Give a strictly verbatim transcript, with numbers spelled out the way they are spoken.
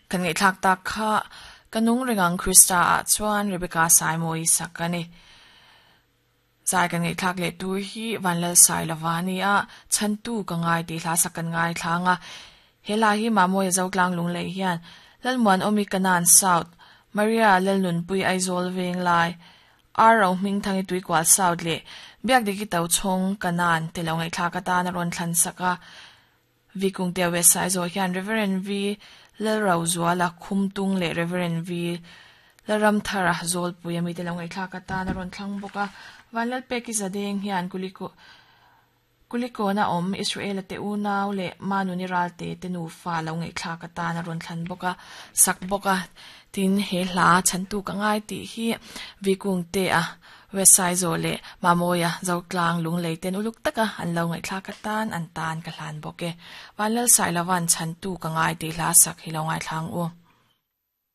Kan ngai thlak tak kha kanung ringang Krista a chuan Rebecca Saimoi sakani. Zai kan ngai thlak le tu hi vanlal sai lawani a chantu ka ngai ti hla sakan ngai thlanga. Hela hi mamoy zoklang lung lei hian lalmuan omi kanan South Maria lalnun pui Aizol veng lai ar ro ming thangi tui kwal South le biak diki tau chong kanan te lo ngai thlak ata na ron thlan saka. Vikung te we sai zo hian Reverend V lalrau zuala khumtung le Reverend V laram thara zol pui ami te lo ngai thlak ata na ron thlang boka. Vanlal peki zadeng hian kuliko kuliko na om Israel te unaw le manu ni ral te te nu fa lo ngai thlak ata na ron thlan boka sak boka. Tin he hla chantu ka ngai ti hi vikung te a wesai zo le mamoya zoklang lung lei ten uluk taka an lo ngai thlak atan an tan ka hlan boke. Vanlal sai lawan chantu ka ngai ti hla sak hi lo ngai thlang u.